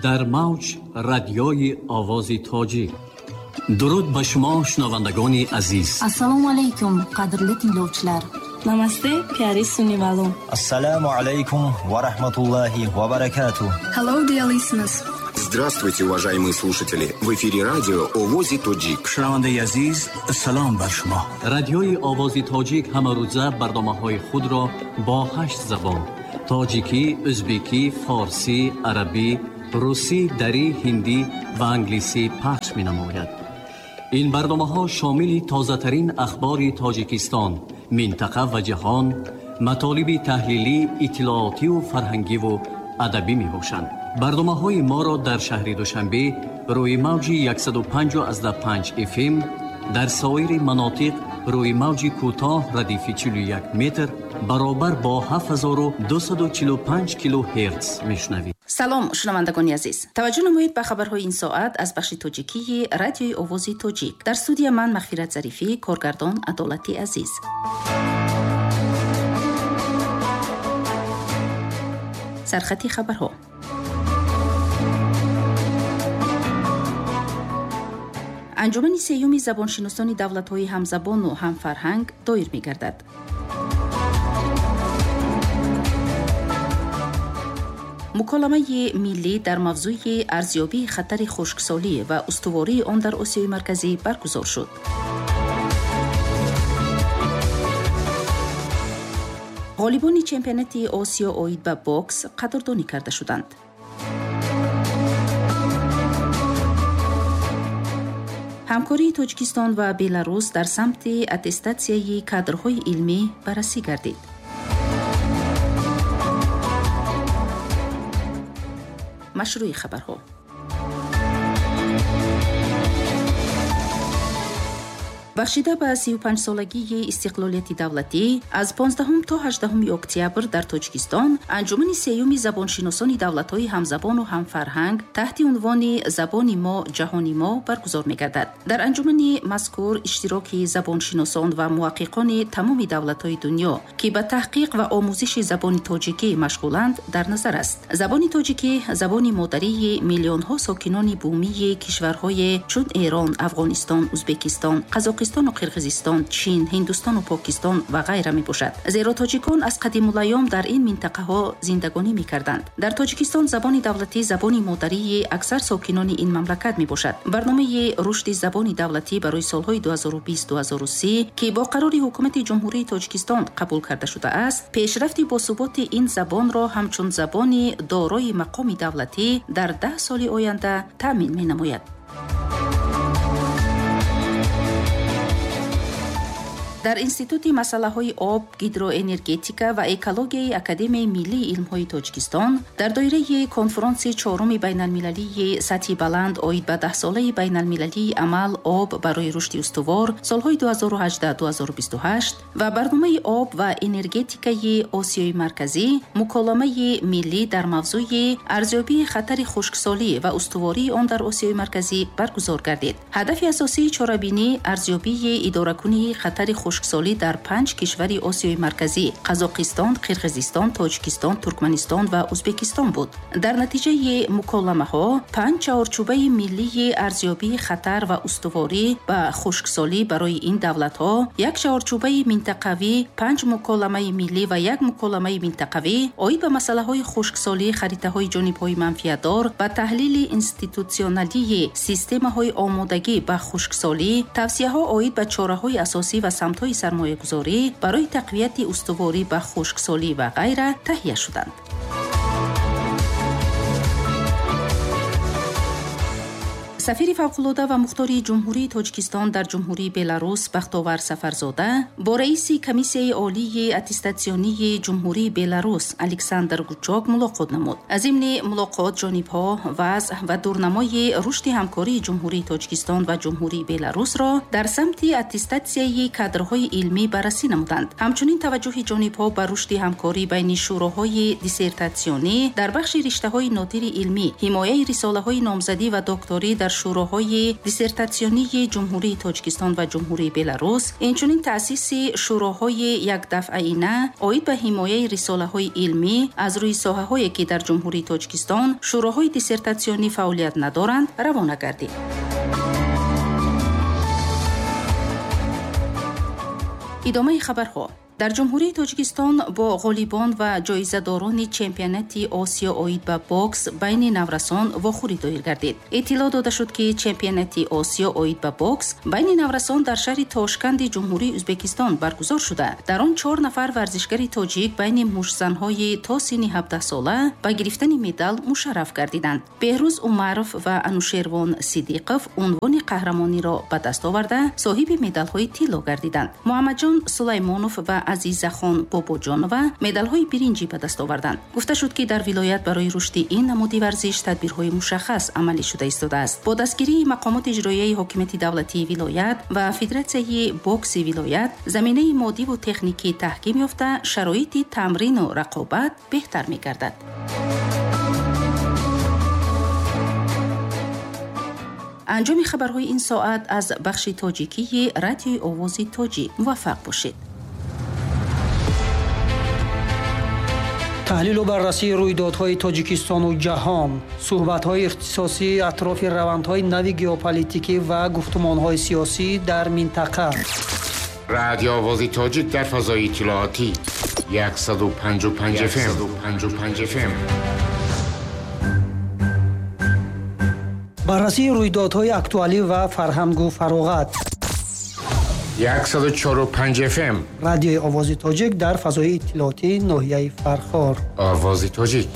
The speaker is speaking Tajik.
Дар мавҷ радиои Овози Тоҷик. Дуруд ба шумо, шунавандагони азиз. Assalomu alaykum, qadrli tinglovchilar. Namaste, pyari sunnivalom. Assalomu alaykum va rahmatullohi va barakatuh. Hello, dear listeners. Здравствуйте, уважаемые слушатели! В эфире радио Овози Тоҷик. Шунавандаи азиз, салом бар шумо. Радиои Овози Тоҷик ҳамарӯза барномаҳои худро бо 8 забон: тоҷикӣ, ӯзбекӣ, форсӣ, арабӣ, русӣ, дарӣ, ҳиндӣ ва англисӣ пахш менамояд. Ин барномаҳо шомили тозатарин ахбори Тоҷикистон, минтақа ва ҷаҳон, матолиби таҳлилӣ, иттилоотиву фарҳангиву адабӣ мебошанд. Барномаҳои моро дар шаҳри Душанбе рӯи мавҷи 105,5 FM, дар соири манотиқ рӯи мавҷи кӯтоҳ радифи 41 метр баробар бо 7245 килогерц мешунавед. Салом, шунавандагони азиз. Таваҷҷӯҳ намоед ба хабарҳои ин соат аз бахши тоҷикии радиои Овози Тоҷик. Дар студия ман Мағфират Зарифӣ, коргардон Адолати Азиз. Сархати хабарҳо. Анҷумани сеюми забоншиносони давлатҳои ҳамзабону ҳамфарҳанг доир мегардад. Муколамаи миллӣ дар мавзӯи арзёбии хатари хушксолӣ ва устувории он дар Осиёи Марказӣ баргузор шуд. Ғолибони чемпионати Осиё оид ба бокс қадрдонӣ карда шуданд. Ҳамкории Тоҷикистон ва Беларус дар самти аттестатсияи кадрҳои илмӣ баррасӣ гардид. Машрӯи хабарҳо. Бахшида ба 35-солагии истиқлолияти давлатӣ аз 15 то 18 октябр дар Тоҷикистон анҷумани сеюми забоншиносони давлатҳои ҳамзабону ҳамфарҳанг таҳти унвони «Забони мо, ҷаҳони мо» баргузор мегардад. Дар анҷумани мазкур иштироки забоншиносон ва муҳаққиқони тамоми давлатҳои дунё, ки ба таҳқиқ ва омӯзиши забони тоҷикӣ машғуланд, дар назар аст. Забони тоҷикӣ забони модарии миллионҳо сокинони бумии кишварҳое чун Эрон, Афғонистон, Ӯзбекистон, Қазоқистон у Қирғизистон, Чин, Ҳиндустону Покистон ва ғайра мебошад. Зеро тоҷикон аз қадимулайём дар ин минтақаҳо зиндагонӣ мекарданд. Дар Тоҷикистон забони давлатӣ забони модарии аксар сокинони ин мамлакат мебошад. Барномаи рушди забони давлатӣ барои солҳои 2020-2030, ки бо қарори ҳукумати Ҷумҳурии Тоҷикистон қабул карда шудааст, пешрафти босуботи ин забонро ҳамчун забони дорои мақоми давлатӣ дар 10 соли оянда таъмин менамояд. Дар Институти масъалаҳои об, гидроэнергетика ва экологияи Академияи миллии илмҳои Тоҷикистон дар доираи конфронси чоруми байналмилалии сатҳи баланд оид ба даҳсолаи байналмилалии амал об барои рушди устувор солҳои 2018-2028 ва барномаи об ва энергетикаи Осиёи Марказӣ муколамаи миллӣ дар мавзӯи арзёбии хатари хушксолӣ ва устувории он дар Осиёи Марказӣ баргузор гардид. Ҳадафи асосии чорабинӣ арзёбии идоракунии хатари хушксолӣ дар 5 кишвари Осиёи Марказӣ: Қазоқистон, Қирғизистон, Тоҷикистон, Туркманистон ва Ӯзбекистон буд. Дар натиҷаи муколамаҳо 5 чаҳорчӯбаи миллии арзёбии хатар ва устуворӣ ба хушксолӣ барои ин давлатҳо, як чаҳорчӯбаи минтақавӣ, 5 муколамаи миллӣ ва як муколамаи минтақавӣ оид ба масъалаҳои хушксолӣ, харитаҳои ҷонибҳои манфиатдор ва таҳлили институтсионалии системаҳои омодагӣ ба хушксолӣ, тавсияҳо оид ба чораҳои асосӣ ва самтҳои сармоягузорӣ барои тақвияти устуворӣ ба хушксолӣ ва ғайра таҳия шуданд. Сафири фавқулода ва мухтори Ҷумҳурии Тоҷикистон дар Ҷумҳурии Беларус Бахтовар Сафарзода бо раиси Комиссияи олии аттестатсионии Ҷумҳурии Беларус Александр Гучок мулоқот намуд. Зимни мулоқот ҷонибҳо вазъ ва дурнамои рушди ҳамкории Ҷумҳурии Тоҷикистон ва Ҷумҳурии Беларусро дар самти аттестатсияи кадрҳои илмӣ баррасӣ намуданд. Ҳамчунин таваҷҷӯҳи ҷонибҳо ба рушди ҳамкорӣ байни шӯроҳои диссертатсионӣ дар бахши риштаҳои нодири илмӣ, ҳимояи рисолаҳои номзадӣ ва докторӣ дар шӯроҳои диссертатсионии Ҷумҳурии Тоҷикистон ва Ҷумҳурии Беларус, инчунин таъсиси шӯроҳои якдафъаина оид ба ҳимояи рисолаҳои илмӣ аз рӯи соҳаҳое, ки дар Ҷумҳурии Тоҷикистон шӯроҳои диссертатсионӣ фаъолият надоранд, равона гардид. Идомаи хабарҳо. Дар Ҷумҳурии Тоҷикистон бо ғолибон ва ҷоизадорони чемпионати Осиё оид ба бокс байни наврасон вохӯрӣ доир гардид. Иттилоъ дода шуд, ки чемпионати Осиё оид ба бокс байни наврасон дар шаҳри Тошканди Ҷумҳурии Ӯзбекистон баргузор шуда, дар он 4 нафар варзишгари тоҷик байни муштзанҳои то синни 17 сола ба гирифтани медал мушарраф гардиданд. Беҳрӯз Умаров ва Анушервон Сидиқов унвони қаҳрамониро ба даст оварда, соҳиби медалҳои тилло гардиданд. Муҳаммадҷон Сулаймонов ва Азизахон Бобоҷонова медалҳои биринҷӣ ба даст оварданд. Гуфта шуд, ки дар вилоят барои рушди ин намуди варзиш тадбирҳои мушаххас амалӣ шуда истодааст. Бо дастгирии мақомоти иҷроияи ҳокимияти давлатии вилоят ва Федератсияи бокси вилоят заминаи моддиву техникӣ таҳким ёфта, шароити тамрину рақобат беҳтар мегардад. Анҷоми хабарҳои ин соат аз бахши тоҷикии Радиои Овози Тоҷик. Муваффақ бошед. Таҳлилу баррасии рӯйдодҳои Тоҷикистону ҷаҳон, суҳбатҳои ихтисосӣ атрофи равандҳои нави геополитикӣ ва гуфтумонҳои сиёсӣ дар минтақа. Радио Овози Тоҷик дар фазои иттилоотӣ 155 FM. 155 FM. Баррасии рӯйдодҳои актуалӣ ва фарҳангу фароғат. 104.5 FM. Радиои Овози Тоҷик дар фазои иттилоотии ноҳияи Фархор. Овози Тоҷик.